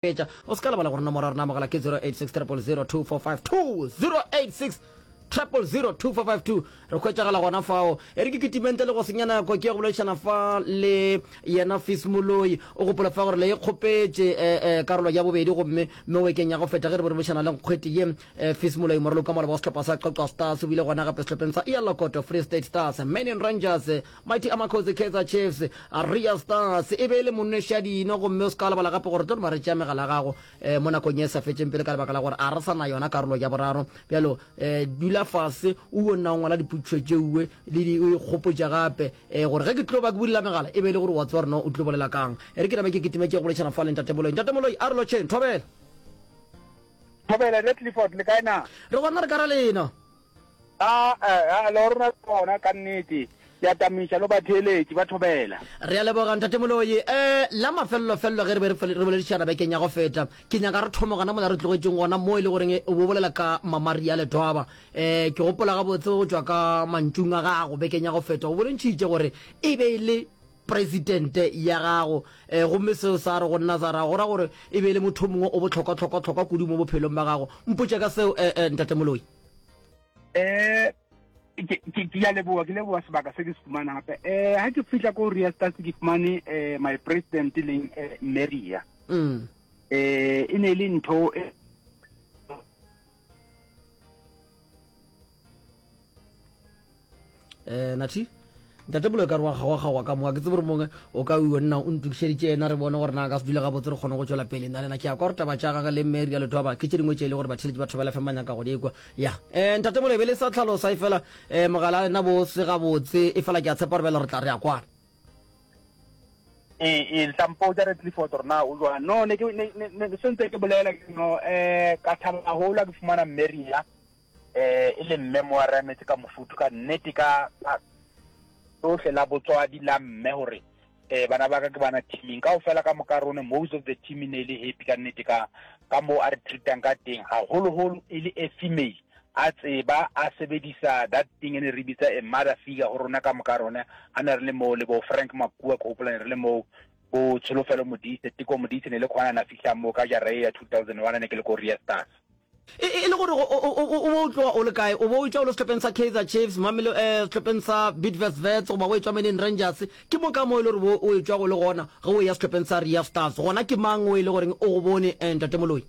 Fetša. O se ka lebala gore nomoro ya rena ya mogala ke 086 000 2452, 086 000 2452. Re hwetšagala gona fao. E re ke kitime ntle le go senya nako ke ye go boledišana fa le yena Fis Moloi. O gopola fa gore le e kgopetše eh, eh, karolo ya bobedi gomme mo bekeng ya go feta ge re be re boledišana le nkgwete ye eh, Fis Moloi moraloki wa maloba wa sehlopha sa Qwaqwa Stars o bile gona gape sehlopheng sa Iyalokoto Free State Stars, Manning Rangers, Mighty Amakhosi, Kaizer Chiefs, Ria Stars e be e le monwešadino gomme o se ka wa lebala gape gore tlo no ba re tšea megala ya gago um mo nakong ye e sa fetšeng pele ka lebaka la gore a re sa na yona karolo ya boraro. Bjalo um dula fase o nna o ngwala dipotšišo tšeuwe le di o ikgopotše gape um gore ge ke tlo ba ke bulela megala e be e le gore wa tseba gore no o tlo bolela kang. E re ke nabe ke kitime ke ye go boledišana fa le Ntate Moloi. Ntate Moloi a re lotšheng, thobela. Thobela, Rre Clifford, le kae na? Re gona re ka ra lena. A, a, a, le rona gona ka nnete. Ke a tamiša lo batheeletši ba thobela. Re a leboga Ntate Moloi. Eh, la mafelelo-felelo ge re be re boledišana bekeng ya go feta, ke nyaka re thome gona mola re tlogetšeng gona mo e le goreng o bo bolela ka Mama Ria Letwaba. Eh, ke gopola gabotse go tšwa ka mantšung a gago bekeng ya go feta, o bolentšhitše gore e be e le presidente ya gago. Eh, gomme seo sa re go nna sa ra go ra gore e be e le motho o mongwe o bohlokwa-hlokwa-hlokwa kudu mo bophelong ba gago. Mpotše ka seo, eh, eh, Ntate Moloi. Eh, ke ke ke a leboa ke leboa sebaka se ke se fumana gape eh ha ke fihla ko Ria Stars ke fumane eh my president e leng eh, Maria mm. eh e ne e le ntho e Eh, Nathi ntate bolo e ka re wa kgawa-kgawa ka moa ke tsebe gore mongwe o ka o nna o ntokišeditše yena re bone gore na ka se dule gabotse re kgone go tšwela pele nna le na ke ya kwa gore taba tša gage le mme ria letwaba ke tše dingwe tše e le gore batheletši ba thobela fm ba nyaka go di kwa ya um ntate bolo e be le sa tlhalosa e fela um mogala a lena bo se gabotse e fela ke a tshepa gore bjale re tla re ya kwana ee ee le tla mpotša re Clifford gore na o jwang no ne ke ne ne sentse ke bolela ke no eh ka thaba haholo ha ke fumana mme Ria eh e le mme mo a re emetse ka mofuthu ka nnete ka tsohle la botswadi la mme gore eh bana ba ka ke bana teaming ka ofela ka moka rone most of the team e ne e le happy ka nnete ka ka mo a re treatang ka teng haholoholo e le a female a tseba a sebedisa that thing e ne re bitsa a mother figure go rona ka moka rone a ne re le moo le bo Frank Makua ke gopola ne re le moo bo Tsholofelo Modise Teko Modise ne le khona na fihla mo ka jara e ya 2001 ne ke le ko Ria Stars E, e le gore o, o, o, o bo o tloga o le kae? O bo o etšwa o le sehlopheng sa Kaizer Chiefs, Mamelo, eh, sehlopheng sa Bidvest Wits goba o etšwa Meneng Rangers? Ke mo ka mo e le gore bo o etšwa go le gona ge o eya sehlopheng sa Ria Stars. Gona ke mang o e le goreng o go bone, eh, Ntate Moloi?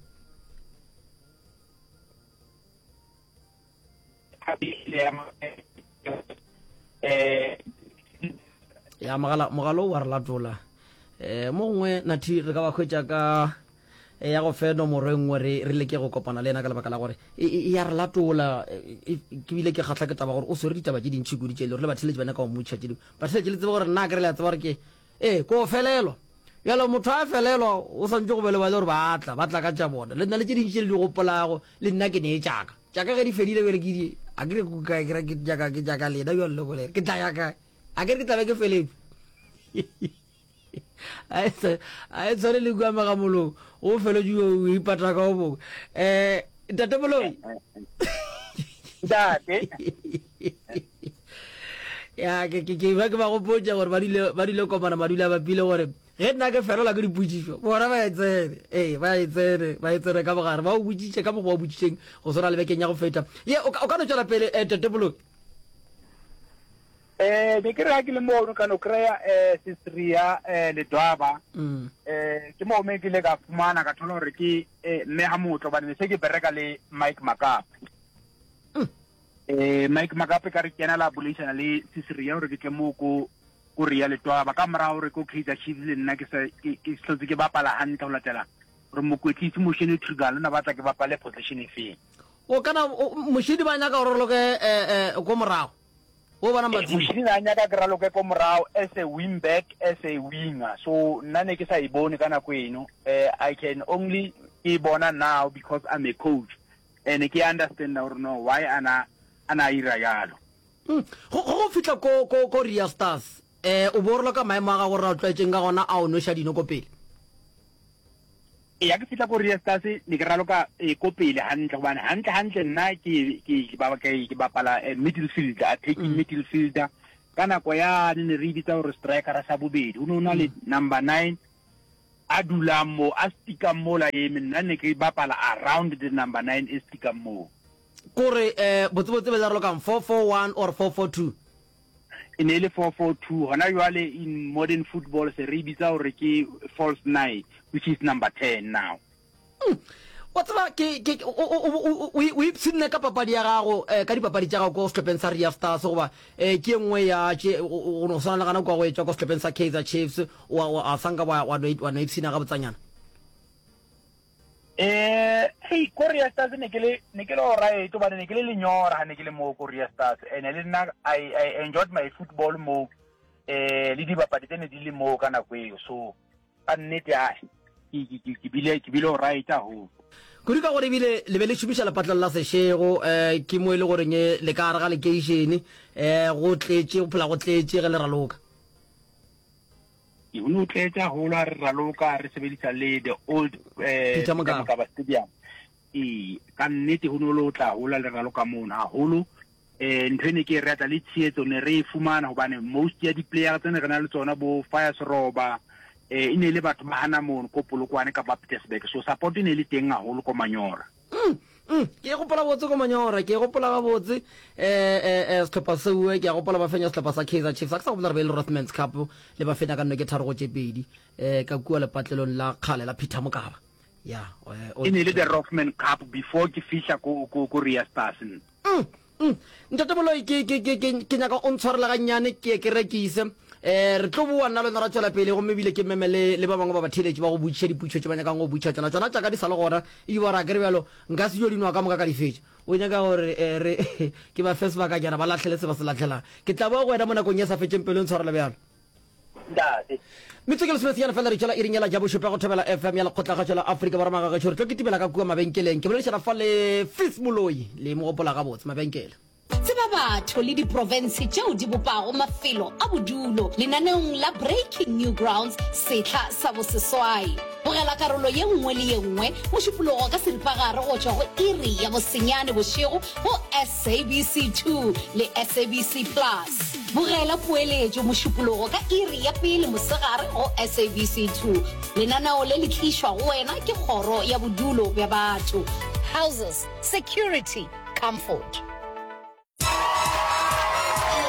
Ya, mogala, mogala o wa re latola. Eh, mo gongwe, Nathi, re ka ba hwetša ka E ya go fe nomoro e nngwe re re leke go kopana le yena ka lebaka la gore e, e, e ya re latola. E, e, ke bile ke kgahla ke taba gore o swere ditaba tše dintši kudu tše e le gore le batheeletši ba nyaka go mmotšiša tše dingwe. Batheeletši le tsebe gore nna akere le a tseba gore ke ee ko felelwa. Bjalo motho a felelwa o swantše go be le ba le gore ba tla, ba tla ka tša bona. Le nna le tše dintši tše le di gopolago le nna ke nee tšaka. Tšaka ge di fedile bjale ke di akere ke kae ke ra ke tšaka ke tšaka lena bjalo le bolela ke tla ya kae? Akere ke tla be ke feletšwe. A e tshwane le kua Magamolong, o feletše o ipata ka o mongwe. Um Ntate Moloi. Ntate. Ya, ke ke ke ba ke ba gopotša gore ba dule ba dule kopana ba dula bapile gore ge nna ke felelwa ke dipotšišo bona ba e tsene ee ba e tsene ba e tsene ka bogare ba o botšiše ka mokgwa o botšišeng go swana le bekeng ya go feta ye o ka no tšwela pele eh, Tate Moloi Eh, be ke re ha ke le mono ka no kry-a um sesria um ledwaba um ke moo me ke ile ka fumana ka thola gore ke um mme ga motlo gobane ne se ke bereka le Mike Makape um Mike Makape ka re kena la boleisana le sesria gore ke tle mo ko ko rea letwaba ka morago gore ko Kaizer Chiefs le nna ke sa ke ke hlotse ke bapala hantle go latela gore mokwetlisi Moshene Trugal o na batla ke bapale position e feng o kana Moshene ba nyaka gore o raloke um ko morago O bona Matsimo. Moshini na nyaka ke raloke ko morago as a wing back, as a winger. So nna ne ke sa e bone ka nako eno. Eh, I can only ke e bona now because I'm a coach. And ke understand gore no why ana ana a ira jalo. Mm. Go go fihla ko ko ko Ria Stars. Eh o bo raloka maemo a gago re a tlwaetšeng ka gona a o nweša dino ko pele. Eya ke fihla ko Riestas ne ke raloka eh, ko pele hantle gobane hantle hantle nna ke ke ke ba ke ke bapala eh, middle fielder attacking mm. middle fielder ka nako yane ne re e bitsa gore striker sa bobedi o ne o na le mm. number 9. A dulang moo, a stikang mola a eme, nna ne ke bapala around the number 9 e stikang moo. Kore eh, botsebotse be le ralokang 4-4-1 or 4-4-2? E ne e le 4-4-2. Hona jwale in modern football se re e bitsa hore ke false nine, which is number 10 now. Mm. Wa tseba ke ke o o o o o ipshinne ka papadi ya gago eh, ka dipapadi tša gago ko sehlopheng sa Ria Stars goba eh, ke e nngwe ya tše go no swana le gana kwa go etšwa ko sehlopheng sa Kaizer Chiefs wa wa a sanka wa wa no wa no ipshina gabotsanyana. Eh, hey, ko Ria Stars ne ke le ne ke le alright hobane ne ke le lenyora ha ne ke le moo ko Ria Stars and le nna I I enjoyed my football moo eh le dibapadi tse ne di le moo ka nako eo so Ka nnete a ke, ke, ke, ke bile, ke bile alright haholo. Kudu ka gore ebile le be le šomiša lepatlelo la sešego, um ke mo e le goreng le ka gare ga lekeišene, um go tletše, go phela go tletše ge le raloka. Go ne go tletše haholo ha re raloka, re sebedisa le the old um Peter Mokaba. Mokaba Stadium. Ee, ka nnete go ne go le go tla haholo ha le raloka mono, haholo eh ntho e ne ke e rata le tshehetso ne re e fumana hobane most ya di-player tse ne re na le tsona bo Fire Seroba eh e ne e le batho ba hana mono ko Polokwane kapa Pietersburg so support e ne e le teng haholo ko Manyora. Mm, mm, ke e gopola botse ko Manyora, ke e gopola gabotse eh eh eh sehlopha seo ke a gopola ba fenya sehlopha sa Kaizer Chiefs, a ke sa gopola re be e le Rothmans Cup le ba fenya ka nno ke 3 go tše 2 eh ka kua lepatlelong la kgale la Peter Mokaba. Ya, eh, e ne e le the Rothman Cup before ke fihla ko ko ko Ria Stars. Mm, mm. Ntate Moloi, ke, ke, ke, ke, ke nyaka o ntshwarela gannyane, ke ye ke rekise. Eh, re tlo boa nna le wena ra tšwela pele, gomme ebile ke meme le, le ba bangwe ba batheeletši ba go botšiša dipotšišo tše ba nyakang go botšiša tšona. Tšona tša ka di sa le gona, e ba ra ke re bjalo, nka se yo di nwa ka moka ka di fetša. O nyaka gore eh, re, ke ba fe sebakanyana ba lahlele se ba se lahlelang. Ke tla boa go wena mo nakong ye sa fetšeng pelo, ntshwarele bjalo. Ntate. Metsotso ke lesomesenyane fela re tšwela iring yela ja bošupa go Thobela FM ya Lekgotlakgašo la Afrika Borwa Magagešo. Re tlo kitimela ka kua mabenkeleng. Ke boledišana fa le Fis Moloi, le mo gopola gabotse. Mabenkele. Tseba batho le diprofense tšeo di bopago mafelo a bodulo lenaneong la Breaking New Grounds sehla sa boseswai. Bogela karolo ye nngwe le ye nngwe Mošupologo ka seripagare go tšwa go iri ya bosenyane bošego go SABC 2 le SABC Plus. Bogela poeletšo Mošupologo ka iri ya pele mosegare go SABC 2. Lenaneo le le tlišwa go wena ke Kgoro ya Bodulo bja Batho, Houses, Security, Comfort.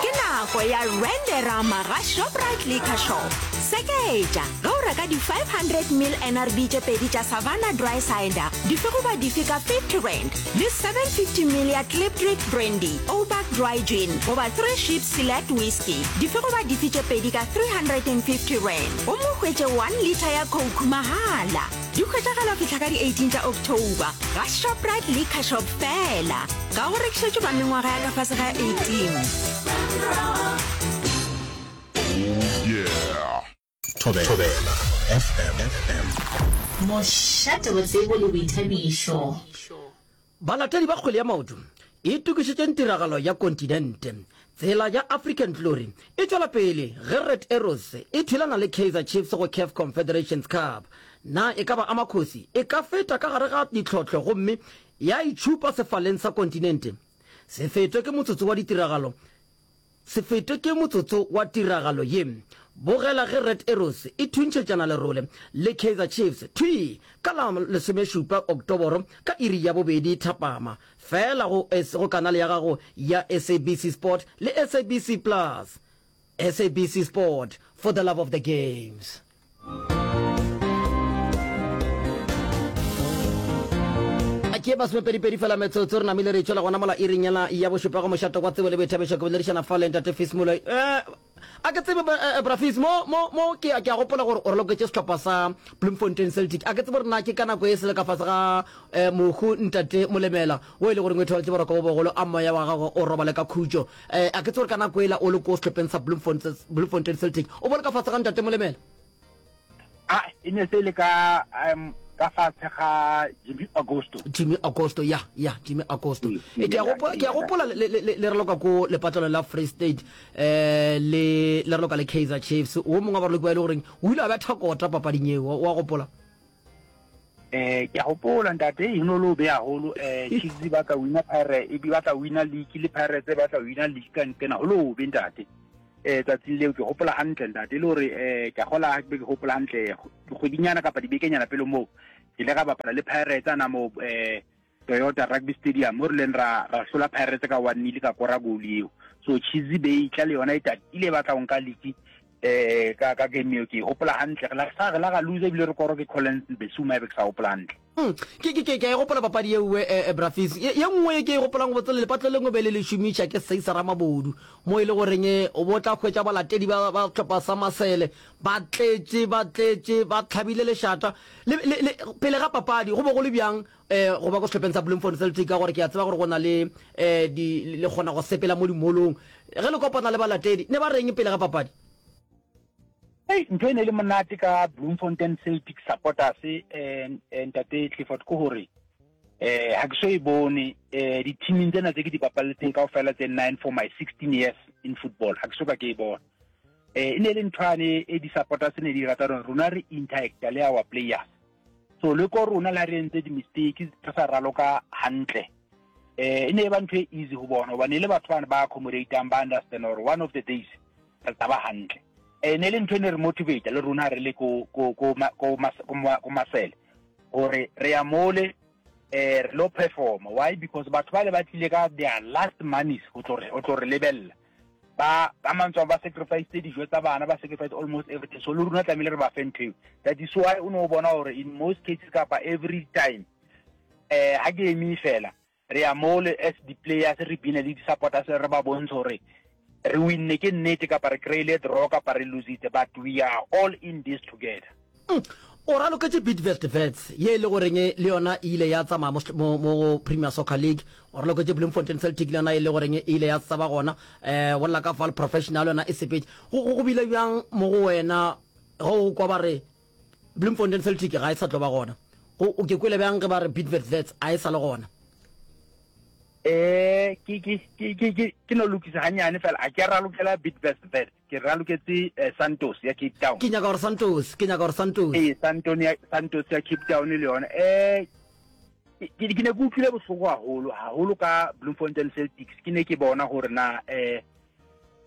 Ke nako ya Renderama ga Shoprite Liquor Shop. Seketša ge o reka di 500 ml NRB tše pedi tša Savanna Dry Cider dife goba dife ka R50 le 750 ml ya Klipdrift Brandy, Ouback Dry Gin goba Three Ships Select Whisky dife goba dife tše pedi ka R350 gomme o hwetše 1 litre ya Coke mahala. Di hwetšagala go fihla ka di 18 tša October ga Shoprite Liquor Shop feela. Ga go rekišetšwe ba mengwaga ya ka fase ga 18. Thobela FM. Mošate wa tsebo le boithabišo. Balatedi ba kgwele ya maoto, itokišetšeng tiragalo ya kontinente. Tsela ya African Glory e tšwela pele ge Red Arrows e thulana le Kaizer Chiefs go Caf Confederations Cup. Na e ka ba Amakhosi e ka feta ka gare ga ditlhohlo gomme ya itšhupa sefaleng sa kontinente? Se fetwe ke motsotso wa ditiragalo Se fetwe ke motsotso wa tiragalo ye. Bogela ge Red Arrows e thuntšhetšana lerole le Kaizer Chiefs thwii ka la lesomešupa Oktoboro ka iri ya bobedi thapama, feela go go kanale ya gago ya SABC Sport le SABC Plus. SABC Sport, for the love of the games. Ke masomepedipedi fela metsotso re namile re tšwela gona mola iring yela ya bošupa go mošato kwa tsebo le boithabišo ke boledišana fa le ntate Fis Moloi. Eh, a ke tsebe eh, eh, bra Fis mo mo mo ke ke a gopola gore o raloketše sehlopha sa Bloemfontein Celtic. A ke tsebe gore na ke ka nako e se le ka fase ga eh, mohu ntate Molemela o e le goreng o ithobaletše boroko bo bogolo a moya wa gagwe o robale ka khutšo. Eh, a ke tsebe gore ka nako ela o le ko sehlopheng sa Bloemfontein Bloemfontein Celtic o bo le ka fase ga ntate Molemela. A e ne se le ka um ka fatshe ga Jimmy Augusto. Jimmy Augusto ya ya Jimmy Augusto. E ke a gopola ke a gopola le le le raloka ko lepatlelo la Free State eh le le raloka le Kaizer Chiefs. O mongwe wa baraloki ba e le goreng o ile a betha kota papading eo wa gopola. Eh ke a gopola ntate e no lo be haholo eh Chiefs ba tla wina Pirates e ba tla wina league le Pirates ba tla wina league ka nkena go lo be ntate. Eh tsatsing leo ke gopola hantle ntate e le gore eh ke a gola ke be ke gopola hantle dikgwedinyana kapa dibekenyana pele moo ke ile ka bapala le Pirates ana mo eh Toyota Rugby Stadium mo re leng ra ra hlola Pirates ka one nil ka kora goal eo. So Chizi be e tla le yona e tatile e batla go nka league eh ka ka game eo ke e gopola hantle re la sa re la ga lose ebile re koro ke Collins Mbesuma ebe ke sa gopola hantle. Hmm, ke ke ke ke a e gopola papadi ye nngwe eh, eh, Brafis. Ye ye nngwe ye ke e gopolang botse le lepatlo lengwe be le le šomiša ke Seisa Ramabodu mo e le goreng eh, o bo tla hwetša balatedi ba ba sehlopha sa Masele ba tletše ba tletše ba hlabile lešata le, le, le, pele ga papadi go be go le bjang um go ba ko sehlopheng sa Bloemfontein Celtic ka gore ke a tseba gore go na le um di le kgona go sepela mo dimolong ge le kopana le balatedi ne ba reng pele ga papadi? Hei, ntho e ne e le monate ka Bloemfontein Celtic supporters eh, eh, ntate Clifford ke gore eh ha ke so e bone eh di-teaming tsena tse ke di bapaletseng kaofela tse nine for my 16 years in football ha ke so ka ke e bona eh e ne e le nthwane e di-supporters ne di rata rona rona re interacta le our players so le ko rona la re entse di-mistake re sa raloka hantle eh e ne e ba ntho e easy ho bona hobane e le batho bane ba accommodatang ba understand gore one of the days re tla ba hantle eh ne le ntho e ne re motivate le rona re le ko ko ko ko ko masele gore re ya mole eh re lo perform why because batho ba le ba tlile ka their last monies go tlo re go tlo re lebella ba ka mantswe ba sacrifice dijo tsa bana ba sacrifice almost everything so le rona tlamehile re ba fe ntho eo that is why o ne o bona gore in most cases kapa every time eh ha ke eme fela re ya mole as di-players re bine le di-supporters re ba bontshe gore re winne ke nnete kapa re kry-ile draw kapa re lositse but we are all in this together Mm. O raloketše Bidvest Wits ye e le goreng le yona e ile ya tsamaya mo, mo, mo Premier Soccer League. O raloketše Bloemfontein Celtic le yona e le goreng e ile ya sa ba gona. Eh, go lla ka Vaal Professional yona e sepetše. Go, go, go bile bjang mo go wena ge o kwa ba re Bloemfontein Celtic ga e sa tlo ba gona? Go, o ke kwele bjang ge ba re Bidvest Wits a e sa le gona? Eh, ke ke ke ke ke ke no lokisa hanyane fela a ke ralokela Bidvest Wits Ke raloketse eh, Santos ya Cape Town. Ke nyaka gore Santos, ke nyaka gore Santos. Ee, Santon ya Santos ya Cape Town le yona. Eh ke ke ne ke utlwile bohloko haholo, haholo ka Bloemfontein Celtics. Ke ne ke bona gore na eh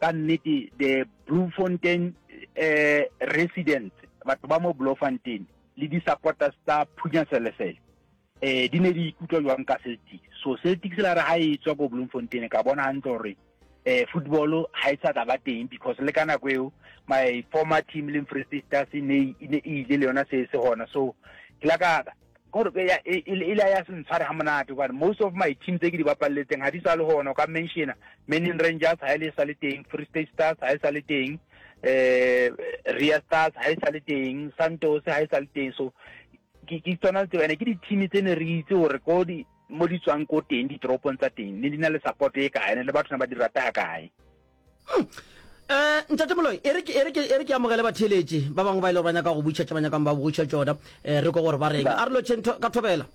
ka nnete the Bloemfontein eh residents, batho ba mo Bloemfontein le di-supporters tsa Phunya Selesele eh di ne di ikutlwa jwang ka Celtics. So Celtics la re ha e tswa ko Bloemfontein ka bona hantle gore eh football ha e sa tla ba teng because le ka nako eo my former team le Free State Stars e ne e ne e ile le yona se se gona so ke la ka gore e e, e, e la ya se ntshware ha monate hobane most of my team tse ke di bapalletseng ha di sa le gona o ka mentiona Manning Rangers ha e le sa le teng Free State Stars ha e sa le teng eh Ria Stars ha e sa le teng Santos ha e sa le teng so ke ke tsona tseo ene ke di-team tse ne re itse gore ko di mo di tswang ko teng ditoropong tsa teng ne di na le support e kae ne le batho ne ba di rata kae um ntate moloi e re ke e re ke e re ke amogele batheeletši ba bangwe ba ile gore ba nyaka go butšha tše ba nyakang ba butšha tšona um re ko gore ba reng a re lotšheng ka thobela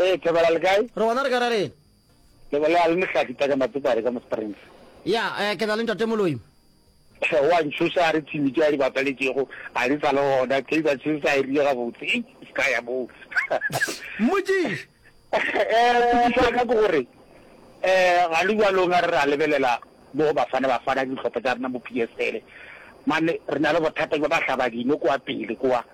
ee thobela le kae re gona re ka ra reng le bolela le mohlaki taka matsopare ka mo springs ya um ke na le ntate moloi Wa ntšhoša a re team tše a di bapaletšego ga di sa le gona. Kaizer Chiefs a e rile gabotse. Ei, se ka ya moo. Mmotšiše. Eh, potšišo ya ka ke gore eh ga le bjalong a re ra lebelela mo go Bafana Bafana dihlopha tša rena mo PSL. Mane re na le bothata bja bahlabadino kwa pele kwa.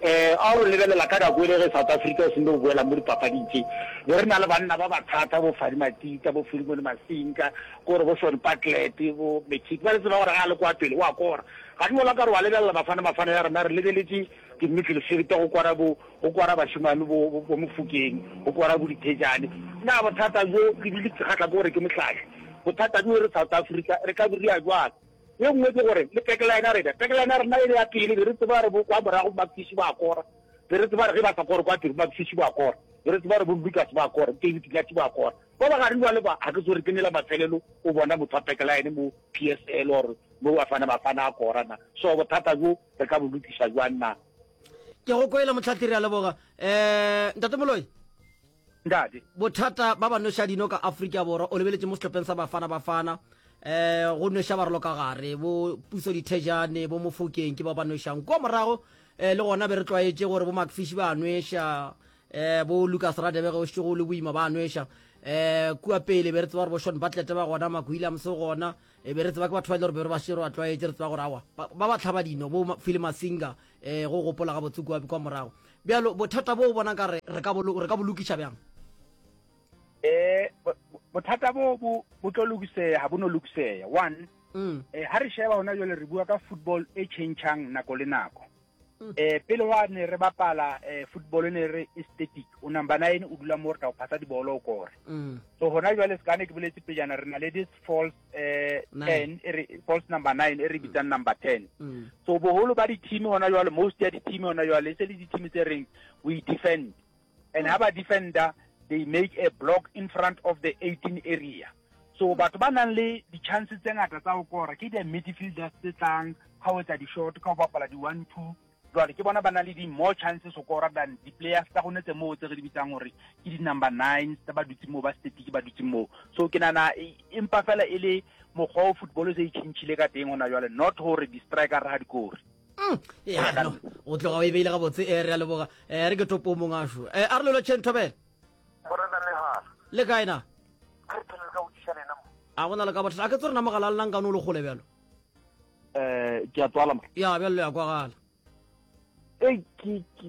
Eh, a o lebelela ka nako ele ge South Africa e seno boela mo dipapading tše, be re na le banna ba ba thata, bo Fadi Matita, bo Philemon Masinga, kore bo Shaun Bartlett, bo McKidd, ba re tseba gore ga a le kwa pele o a kora. Ga di bola ka re wa lebelela Bafana Bafana ya rena, re lebeletše di-midfield go kwara bo, go kwara bašemane bo, bo, bo Mofokeng, go kwara bo Dithejane. Na bothata bjo, ebile ke kgahla ke gore ke mohlahli, bothata bjo re South Africa re ka bo ria bjang? Ye nngwe ke gore le backline ya rena, backline ya rena e le ya pele, be re tseba gore bo kwa morago Mafishi ba kora, be re tseba gore ge ba sa kore kwa pele Mafishi ba kora, be re tseba gore bo Lucas ba kora, David Hlathi ba kora. Ba ba gare jwale ba, ga ke tsebe gore ke nela mafelelo o bona motho wa backline mo PSL or mo Bafana Bafana a kora na. So bothata bjo re ka bo lokiša jwang na? Ke go kwele Mohlahli, re a leboga. Um Ntate Moloi. Ntate. Bothata ba ba nweša dino ka Afrika Borwa, o lebeletše mo sehlopheng sa Bafana Bafana, um go nweša barolo ka gare, bo Puso Dithejane, bo Mofokeng ke bao ba nwešang. Kua morago um le gona be re tlwaetše gore bo Macfish ba a nweša, um bo Lucas Radebe ge o šetše go le boima ba a nweša. Um kua pele be re tseba gore bo Shaun Bartlett ba gona, Mark Williams o gona, e be re tseba ke batho ba e le gore be re ba šetše re ba tlwaetše, re tseba gore aowa ba ba hlaba dino, bo Phil Masinga um go gopola gabotse kua kwa morago. Bjalo bothata bo o bona nkare re ka bo re ka bo lokiša bjang? Eh bothata bo bo bo tlo lokiseya, ga bo no lokiseya. One, mm. eh, ha re sheba hona jwale re bua ka football e changechang nako le nako. Mm. Eh pele wa ne re bapala eh, football ne re e static o number 9 o dula mo re tla o phasa dibolo o kore mm. so hona jwale se ka ne ke boletse pejana re na le this false eh 10 e re false number 9 e re bitsang number 10 mm. so boholo ba di-team hona jwale most ya di-team hona jwale e se le di-team tse reng we defend and ha ba defender they make a block in front of the 18 area so batho ba nang le di-chance tse ngata tsa go kora ke di-midfielders tse tlang ka ho etsa di-short ka ho bapala di-one two jwale ke bona ba nang le di-more chances ho kora than di-players tsa gone tse moo tse re di bitsang gore ke di-number nines tsa ba dutseng moo ba static ba dutseng moo so ke nana empa fela e le mokgwa o football se e tšhintšhile ka teng gona jwale not gore di-striker ga di kore Mm, ya no o tloga o e beile gabotse e re a leboga um re ke topo mong ašo um a re lelo tšheng thobela le kae na a go na le ka bothata a ke tse rena mogala a llenang kane o le kgole bjalo um ke a tswala ya bjalo ya kwagala e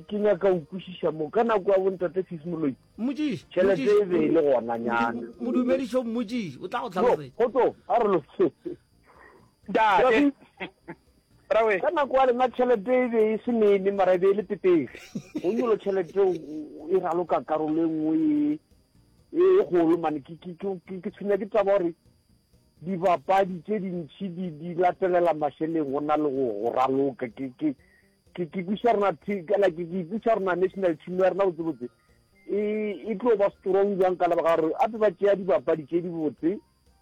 ke nyaka go kwešiša mo ka nako ya bontate Fismoloi mmotšiše tšhelete e be e le gona nyana modumedišo mmotšiše o tla go tlhalosetsa kgotso a re lo Ntate. Brawe. Ka nako ya lena tšhelete e be e se nene mara e be e le pepere. Go nyolo tšhelete e raloka karolo e nngwe e e kgolo mane ke ke ke ke tshwenya ke taba gore dibapadi tše dintšhi di di latelela mašeleng go na le go go raloka ke ke ke ke kwiša rena ke like ke ikwiša rena national team ya rena botsebotse e e tlo ba strong jwang ka lebaka gore ape ba tšea dibapadi tše dibotse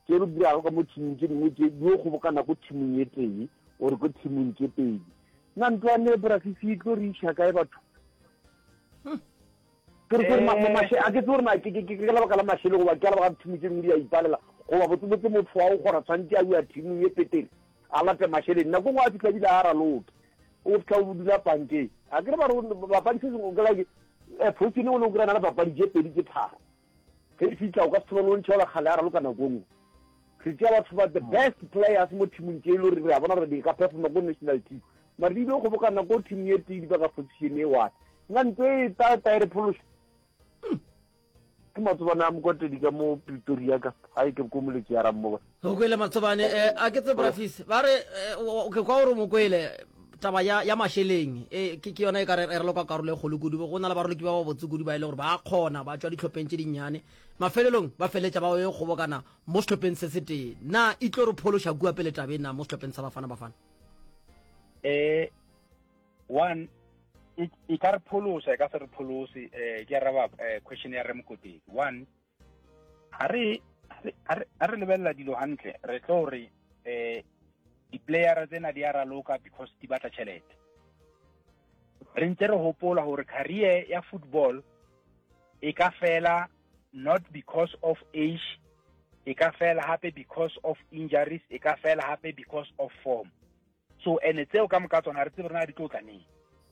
tše re dirago ka mo thimong tše dingwe tše di yo kgobokana ko thimong e tee ore ko thimong tše pedi. Na ntlwane Brasisi e tlo re iša kae batho? Hmm. Ke re gore eh. a ke tse gore na ke ka lebaka la mašele goba ke ka lebaka thimo tše dingwe di a ipalela goba botsebotse motho wa go kgona tshwanetse a bua thimong e petele a late mašeleng nako nngwe a fitlha ebile a raloke o fitlha o dula pankeng a ke re ba re bapadi se sengwe ke like eh, phosine o ne o kry-a na le papadi tše pedi tše tharo Ge e fihla o ka se thomane o ntšha ola kgale a raloka nako nngwe. Re tšea batho ba the best players mo teamong tše e le gore re a bona gore di ka performa ko national team. Mara di ile kgobokana ko team ye tee di ba ka position e one. Nna ntho e ta ta e re phološa. Ke matsobane a Mokotedi ka mo Pretoria ka gae ke ko Moletši ya Rammoba. O kwele Matsobane, eh, a ke tse Brafis, ba re eh, ke kwa gore o mo kwele taba ya, ya mašeleng e, ke, ke yona e ka re e raloka karolo e kgolo kudu. Go na le baraloki ba ba botse kudu ba e le gore ba kgona, ba tšwa dihlopheng tše dinnyane, mafelelong ba feleletša ba yo kgobokana mo sehlopheng se setee. Na e tlo re phološa kua pele tabeng na mo sehlopheng sa Bafana Bafana? Eh, one e, e ka re pholosa e ka se re pholose eh ke araba eh, question ya re Mokotedi one ha re ha re lebelela dilo hantle re tlo re eh di-playera tsena di a raloka because di batla tšhelete re ntse re hopola gore career ya football e ka fela not because of age e ka fela hape because of injuries e ka fela hape because of form so ene tseo ka moka tsona re tsebe rena di tlo tla neng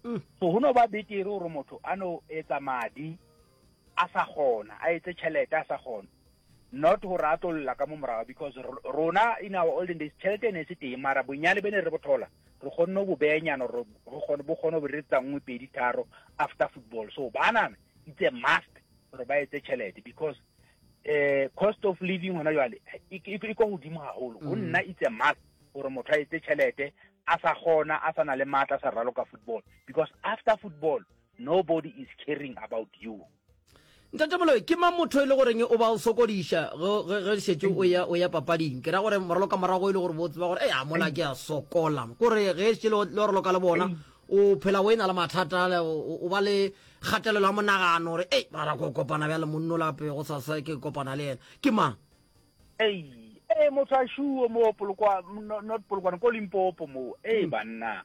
mm. so go no ba betere gore motho a no etsa madi a sa kgona a etse tšhelete a sa kgona not gore a tlo lla ka mo morago because rona in our olden days tšhelete e ne e se teng mara bonyane be ne re bothola re kgonne go beanyana gore bo kgone go re tsa nngwe pedi tharo after football so banana it's a must gore ba etse tšhelete because eh cost of living hona jwale e, e, e ko godimo haholo go mm. nna it's a must gore motho a etse tšhelete a sa kgona a sa na le maatla a sa raloka football because after football nobody is caring about you. Ntate Moloi, ke mang motho e le goreng o ba o sokodiša ge ge šetše o ya o ya papading? Ke ra gore moraloka morago e le gore bo tseba gore a mola ke a sokola. Kore ge šetše le raloka le bona o phela o e na le mathata o ba le kgatelelo ya monagano gore ei mara ko kopana bjale monno lape go sasa ke kopana le yena. Ke mang? Ei, ee motho a šuo mo Polokwane, not Polokwane, ko Limpopo mo. Ei mm. banna.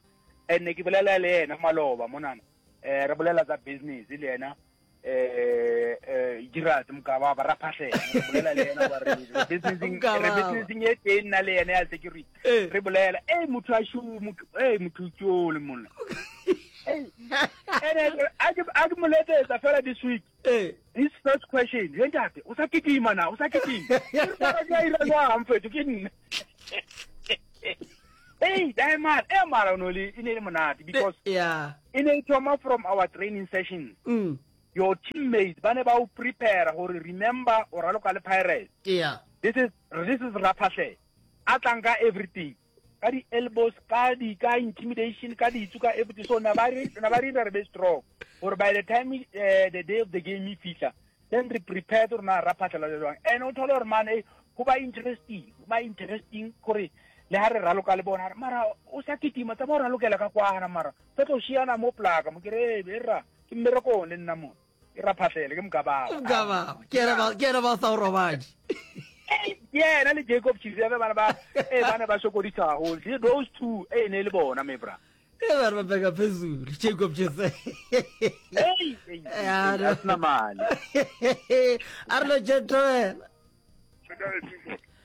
Ene ke bolela le yena maloba monana. Eh re bolela tsa business le yena. Eh eh Gerald Mokaba ba raphahlela. Re bolela le yena ba re businessing re businessing e teng nna le yena ya security. Eh. Re bolela ei motho a šuo motho ei motho tšole monna. Ei. Ene a ke a ke mo letsetsa fela this week. Eh. His first question, ye ntate, o sa kitima na? O sa kitima? Ke re, mara ke a ira jwang mfethu ke nna. Hey, dae man, e mara o no le e ne e le monate because yeah. e ne e thoma from our training sessions. Mm. Your teammates ba ne ba o prepare gore remember o raloka le Pirates. Yeah. This is this is Raphahle. A tlang ka everything. Ka di elbows, ka di ka intimidation, ka ditsu, ka everything. So na ba re na ba re re be strong. Gore by the time uh, the day of the game e fihla, then re prepared gore na Raphahle la jwang. And o thole gore man eh go ba interesting, go ba interesting gore le ha re raloka le bona mara o sa kitima tsa ba o ralokela ka kwana mara tsa tlo šiana mo plaka mo ke re e ra ke mmerekong le nna mo ke raphahlele ke mokababa mokababa ke ena ba ke ena ba sa o robadi ke yena le Jacob Chizebe bana ba eh bana ba sokodisa haholo those two eh ne le bona me bra e ba re ba beka phezulu Jacob Chizebe hey a sena mali a re lo gentleman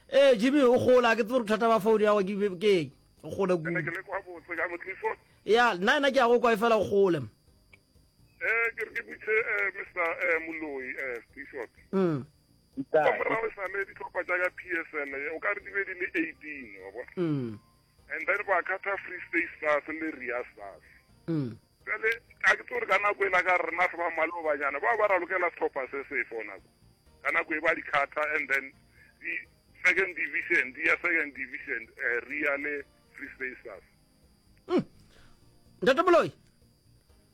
ee Jimmy o gola ke tsebe gore bothata ba phone ya go ke eng o gole kudu ya nna ena ke ya go kwa e fela o gole Eh, ke re ke botse eh, Mr. Eh, Moloi eh, Bishop. Mm. Ka morago e sale ditlhopha tša ka PSL eh, o ka re di be di le 18 wa bona. Mm. And then ba kgatha Free State Stars le Ria Stars. Mm. Jale a ke tsore ka nako e la ka rena re ba malobanyana ba ba ralokela setlhopha se se fo nako. Ka nako e ba di kgatha and then di second division di ya second division eh, Ria le Free State Stars. Mm. Ntate Moloi.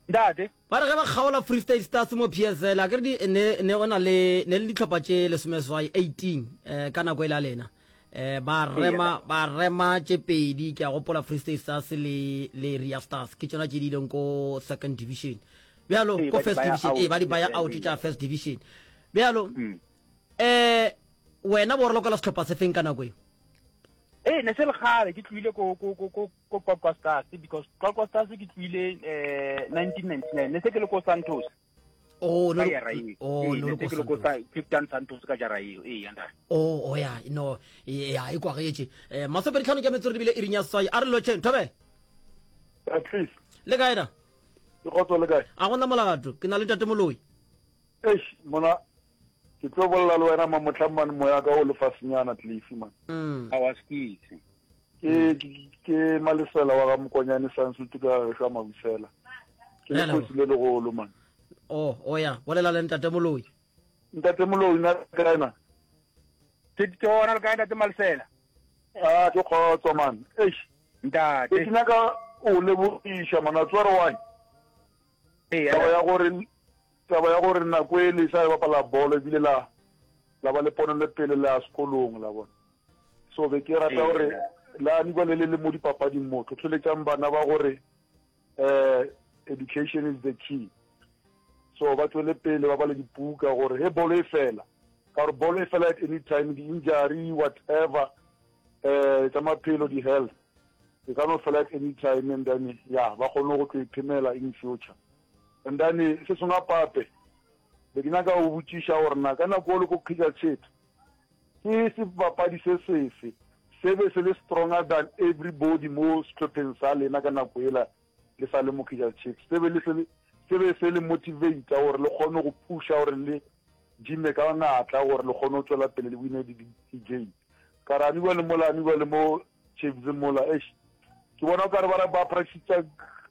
Ntate. Ba re ge ba kgaola Free State Stars mo PSL, a ke re di ne ne go na le ne le ditlhopha tše lesomeswai 18 eh, ka nako e la lena. Eh, ba rema ba rema tše pedi ke a gopola Free State Stars le le Ria Stars ke tšona tše di ileng ko second division. Bjalo Ee, ko ba di first baya division out, ee ba di baya ee, out ee. tša first division. Bjalo Mm. eh wena bo ralokela sehlopha se feng ka nako e? Ee, ne se le kgale ke tlohile ko ko ko ko ko Qwaqwa Stars because Qwaqwa Stars ke tlohile eh 1999 ne se ke le ko Santos. Oh, ka no, jara eo. oh, Ee, no, ne le se ko ke le ko Santos. sa Cape Town Santos ka jara eo. Ee, ya ntate. Oh, oh ya, no, ya, e kwagetše. Eh, masomepedi tlhano ke metsotso re bile iring ya seswai. A re lotšheng, thobela. At least. Le kae da? Ke kgotso le kae? A gona molato, ke na le ntate Moloi. Eish, mona ke tlo bolela le wena mamotlha man moya ka o lefasenyana Cliffy man. Mm. A wa skitse. Ke ke ke Malesela wa ga Mokonyane Sansutu ka gešo a Mabusela. Ke Re a lekgosi le legolo man. Oh, oh ya, bolela le ntate Moloi. Ntate Moloi na kae na? Ke ke gona le kae ntate Malesela? Ah, ke kgotso man. Eish. Ntate. Ke nyaka o lebogiša man, a tsware why? Ee, Taba ya gore Taba ya gore nako e le sa bapala bolo ebile la la ba le ponelepele la sekolong la bona. So be ke rata gore la nikwa le le le mo dipapading mo tlhotlheletsang bana ba gore eh education is the key. So ba tswele pele ba bale dipuka gore he bolo e fela ka gore bolo e fela at any time di-injury whatever eh tsa maphelo di-health e ka no fela at any time and then ya ba kgone go tlo iphemela in future. And then se sengwe gape, be ke nyaka go botšiša gore na ka nako o le ko Kaizer Chiefs, ke sebapadi se sefe se be se le stronger than everybody mo sehlopheng sa lena ka nako yela le sa le mo Kaizer Chiefs, se be le se se be se le motivate gore le kgone go pusha gore le gym-e ka natla gore le kgone go tšwela pele le wine di-game. Ka re aniwa le mola aniwa le mo Chiefs mola eish ke bona o kare ba ba practice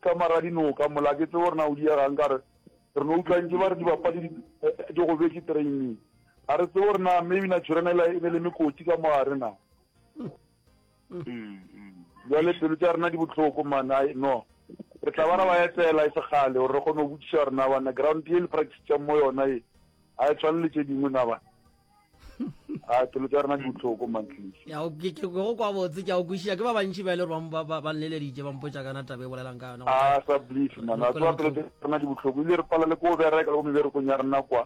ka mara dinoka mola ke tsebe gore na o diegang ka re re no utlwa ntse ba re dibapadi di eh, gobetse training ga re tsebe gore na maybe Naturena e ne le mekoti ka mogare na jale pelo tša rena di botlhoko man ai no re tla ba ra ba etela e segale gore re kgone go botšiša gore na bana ground ye le practice mo yona e a e tshwane le tše dingwe na bana a pelo tša rena di botlhoko mantlise ya ke ke go kwa botse ke a o kwešiša ke ba bantši ba e le gore ba ba ba nleleditše ba mpotša kana taba e bolelang ka yona a sa bliss man a tswa pelo tša rena di botlhoko ile re pala le ko bereka le ko meberekong ya rena kwa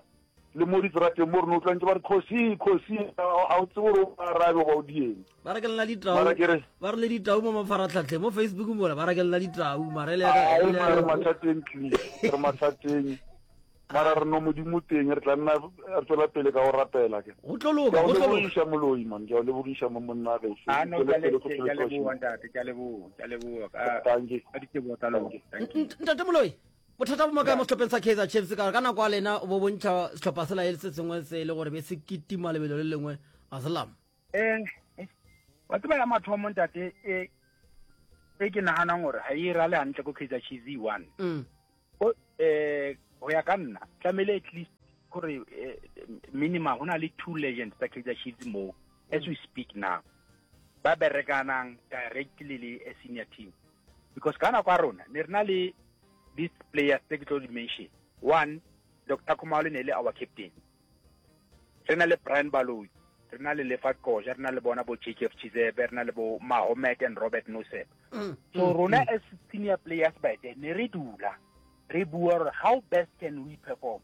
le mo ditserateng mo re no utlwantse ba re khosi khosi a o tsebe gore o arabe goba o dieng ba re ke lena ditau Mara ke re- ba re le ditau mo mafaratlhatlheng mo facebook mola ba re ke lena ditau mara e le ya ka- Ai, e le ya mara re ka- mathateng please re mathateng mara re no modimo teng re tla nna re tswela pele ka go rapela ke go tlo loka ke a o go tlo loka lebogiša moloi man ke a o lebogiša mo monna gešo Ah, no, ke a tswele pele le- go ke a tswele leboha ntate, ke a leboha, ke a leboha ka Thank you. ka diteboho tsa lona. Thank you. Ntate Moloi. Bothata bo mo kae mo sehlopheng sa Kaizer Chiefs ka gore ka nako ya lena bo bontšha sehlopha sela e le se sengwe se e le gore be se kitima lebelo le lengwe ga se lama. Eh, wa tseba ya mathomo ntate e e ke naganang gore ga e rale hantle ko Kaizer Chiefs e one. Mm. O eh go ya ka nna tlamehile at least gore eh, minimum go na le two legends tsa Kaizer Chiefs mo as we speak now ba berekanang directly le a senior team because ka nako ya rona ne re na le these players tse ke tlo di mention one Dr Khumalo ne le our captain re na le Brian Baloyi re na le Lefa Qoja re na le bona bo JKF Chizebe re na le bo Mahomet and Robert Noseb mm, so mm, rona mm. as senior players by then ne re dula re bua gore how best can we perform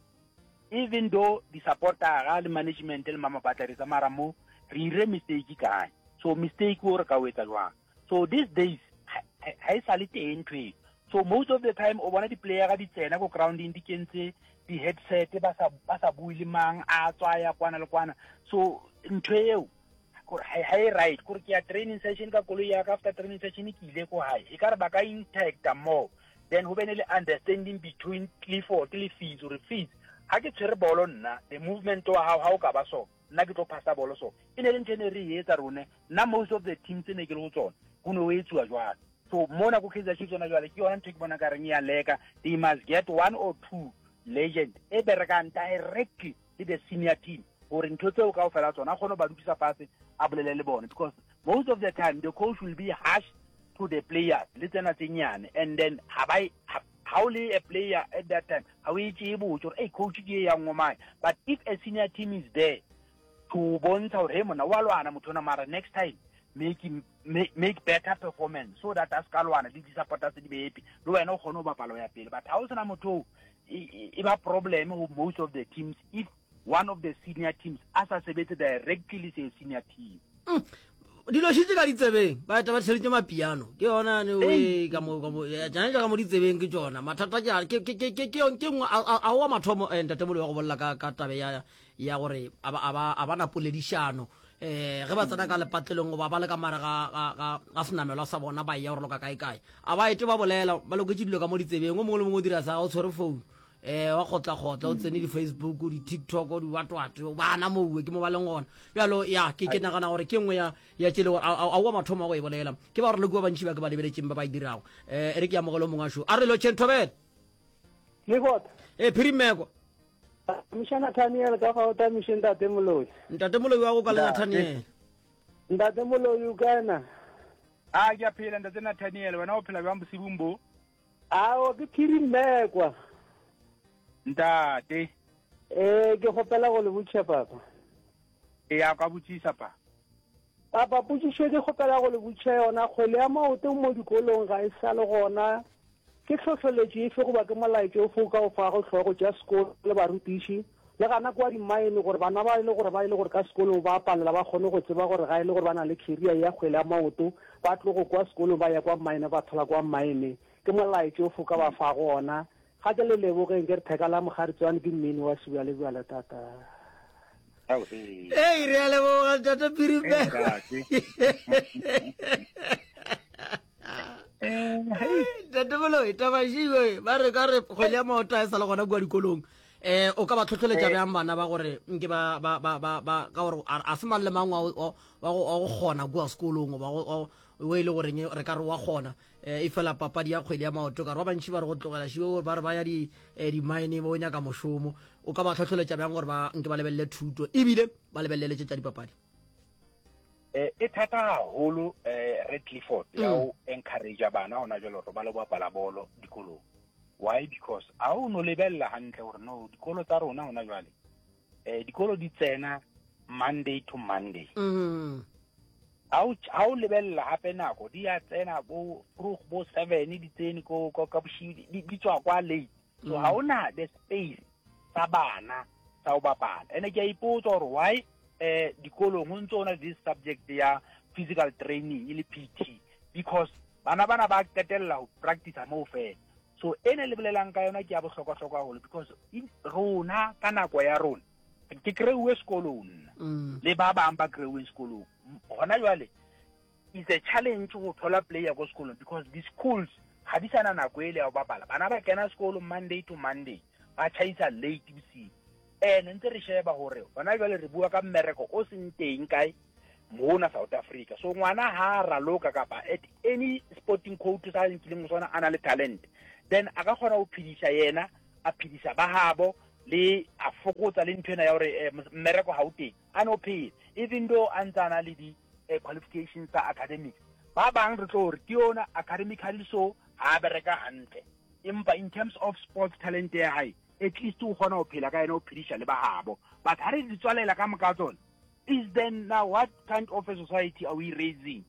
even though di supportera le management le mama batla re tsamara mo re ire mistake kae so mistake o re ka o etsa jwang so these days ha e sa le teng ntho eo so most of the time o bona di-playera di tsena ko grounding di kentse di-headset ba sa ba sa bue le mang a tswa ya kwana le kwana so ntho eo gore ha e right gore ke ya training session ka koloi ya ka after training session ke ile ko hae e ka re ba ka interacta more then ho bene le understanding between Clifford le Fees gore Fees ha ke tshwere bolo nna the movement wa hao ha o ka ba so nna ke tlo phasa bolo so e ne le ntho e ne re e etsa rone nna most of the teams tse ne ke le go tsone go ne o etsuwa jwalo so mona ko Kaizer Chiefs yona jwale ke yona ntho e ke bona ka reng ya leka they must get one or two legend e berekang directly le the senior team gore ntho tseo ka ofela tsona a kgone go ba dutisa fatshe a bolele le bone because most of the time the coach will be harsh to the players le tsena tse nyane and then ha ba ha o le a player at that time ha o e tšee botse gore hey coach ke e yang ngomane but if a senior team is there to bontsha gore hey mona wa lwana motho ona mara next time make make, make better performance so that a se ka lwana le di-supporters di be happy le wena o kgone go bapala ya pele but ha o sena motho e ba problem go most of the teams if one of the senior teams a sa sebetse directly le se senior team mm. dilo šitse ka ditsebeng ba eta ba tšheletse mapiano ke yona ne we ka mo ka mo tsana ka mo ditsebeng ke tsona mathata ke ke ke ke ke ke nngwe a wa mathomo eh, ntate molo wa go bolela ka ka tabe ya ya gore a ba a ba a ba na poledišano eh ge ba tsena ka lepatlelong goba ba le ka mare ga ga ga ga senamelwa sa bona ba ya gore loka kae kae a ba ete ba bolela ba loketše dilo ka mo ditsebeng o mongwe le mongwe o dira sa o tshwere phone eh wa kgotla kgotla o tsene di-facebook di-tiktok di-watwat bana moue ke mo ba leng gona bjalo ya ke ke nagana gore ke nngwe ya ya tšele gore a wa mathomo a go e bolela ke ba gore le kua bantši ba ke ba lebeletšeng ba ba e dirago um e re ke amogelo mongwe a šo a re lotšheng thobele Lekota. E phirimeko. Tamiša Nathaniel ka fa o tamiše ntate Moloi. Ntate Moloi wa go ka le Nathaniel. Ntate Moloi o kae na? A ke a phela ntate Nathaniel wena o phela bjang bosibung bo? Ao ke phiri mmekwa. Ntate. Eh ke gopela go le botšha papa. E ya ka botšisa pa. Papa potšišo ke kgopela go le botšha yona kgwele ya maoto mo dikolong ga e sa le gona ke tlhohleletšo efe goba ke molaetšo ofe o ka o fago hlogo tša sekolo le barutiši le gana kwa dimmaene gore bana ba e le gore ba e le gore ka sekolong ba palela ba kgone go tseba gore ga e le gore ba na le career ya kgwele ya maoto ba tlogo kwa sekolong ba ya kwa mmaene ba thola kwa mmaene ke molaetšo ofe o ka ba fago ona ga ke le lebogeng ke re theka la mogaritswane ke mmini wa sebjalebjale tata ei re a leboga tata piribeko tate moloi tabašiwe ba re ka re kgwele ya maoto a e sa le gona kua dikolong um o ka ba tlhotlheletša eh. bjang bana ba gore nke ba ba ba ba ba ka gore a se mang le mang wa go kgona kua sekolong goba o e le goreng re ka re wa kgona um e fela papadi ya kgwele ya maoto ka re ba bantši ba re go tlogela šiwe ba re ba ya di-mine eh, ba o nyaka mošomo o ka ba tlhotlheletša bjang gore ba nke ba lebelele thuto ebile ba lebelele tše tša dipapadi Eh, e thata haholo eh Red Clifford ya mm. o encourage bana hona jwale gore ba le bapala bolo dikolong why because a o no lebella hantle gore no dikolo tsa rona hona jwale eh dikolo di tsena Monday to Monday mm. ha o lebella hape nako di ya tsena bo vroeg bo 7 di tsene ko ka bosiu di tswa kwa late so ha mm. ona the space tsa bana tsa go bapala ene ke a ipotsa gore why eh dikolong go ntse ona this subject ya physical training e le PT because bana bana ba qetella go practice moo fela so e ne le bolelang ka yona ke ya bohlokwa-hlokwa haholo because rona ka nako ya rona ke kry-uwe sekolong nna mm. le ba bang ba kry-uweng sekolong gona jwale it's a challenge go thola player ko sekolong because the schools Ga di sa na nako ele ya go bapala. Bana ba kena sekolo Monday to Monday, ba tšhaisa late bosigo. Ene ntse re sheba gore gona jwale re bua ka mmereko o seng teng kae mona South Africa. So ngwana ha a raloka kapa at any sporting coach sa nkileng go sona a na le talent, then a ka kgona go phedisa yena, a phedisa ba habo le a fokotsa le ntho ena ya gore eh, mmereko ga o teng a no phela even though a ntse a na le di eh, qualifications tsa academics ba bang re tlo re ke yona academically so ha a bereka hantle empa in terms of sports talent ya hae at least o kgona go phela ka yena o phediša le ba gabo but ha re di tswalela ka moka tsone is then now what kind of a society are we raising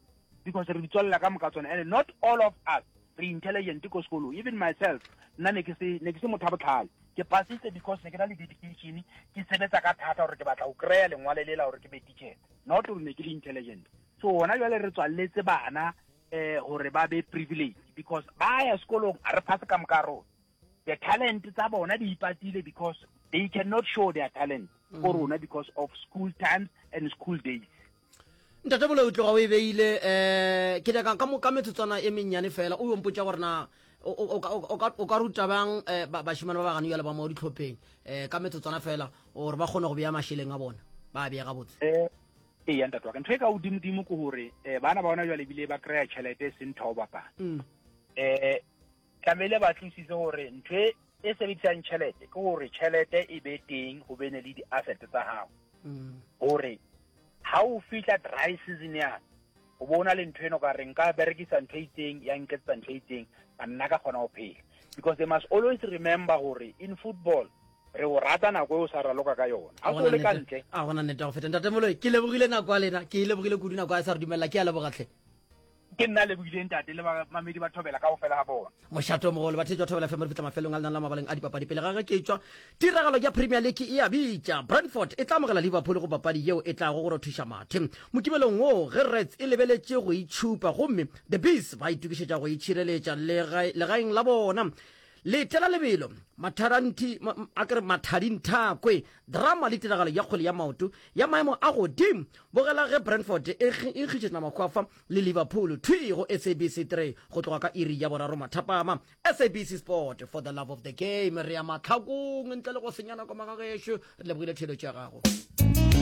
because re di tswalela ka moka tsone and not all of us re intelligent ko sekolong even myself nna ne ke se ne ke se motho wa botlhale ke pasitse because ne ke na le dedication ke sebetsa ka thata gore ke batla go kry-a lengwale lela gore ke be teacher not gore ne ke le intelligent so gona jwale re tswaletse bana eh gore ba be privileged because ba ya sekolong a re phase ka moka rona the talent tsa bona di ipatile because they cannot show their talent ko mm. rona because of school times and school days ntate bolo o tloga o e beile um ke nyaka ka ka metsotswana e mennyane fela o yompotsa gore na o ka ruta bang eh, bashimane ba ba gane jale ba mo ditlhopheng um ka metsotswana fela gore ba kgone go beya mašeleng a bona ba beye gabotse eh, ee ya ntate wa ka ntho e ka godimodimo ke gore um bana ba bona jale ebile ba kry-a tšhelete e seng ntho o bapala um Tlamehile ba tlosise gore ntho e e sebedisang tšhelete ke gore tšhelete e be teng go bene le di-asset tsa gago mm. gore ha o fihla dry season ya o bo o na le ntho eno ka re nka berekisa ntho e itseng ya nketsetsa ntho e itseng ka nna ka kgona go phela because they must always remember gore in football re o rata nako e o sa raloka ka yona ga o le ka ntle a gona nnete go feta ntate moloi ke lebogile nako ya lena ke e lebogile kudu nako a sa re dumelela ke a lebogatlhe Ke nna a lebogileng ntate le bamamedi ba Thobela kaofela ga bona. Mošato o mogolo, batheetši ba Thobela FM re fihla mafelong a lenane la mabaleng a dipapadi. Pele ga ge ke tšwa, tiragalo ya Premier League e a bitša. Brentford e tla amogela Liverpool go papadi yeo e tlago go rothiša mathe. Mokibelong wo, ge Reds e lebeletše go itšhupa gomme The Bees ba itokišetša go itšhireletša legaeng la bona. Letela lebelo, matharanthi, ma, a ke re mathadinthakwe, drama le tiragalo ya kgwele ya maoto ya maemo a godimo. Bogela ge Brentford e nkgišetšana makgwafa le Liverpool thwi go SABC 3 go tloga ka iri ya boraro mathapama. SABC Sport for the love of the game. Re ya mahlakong ntle le go senya nako magagešo. Re lebogile theeletšo ya gago.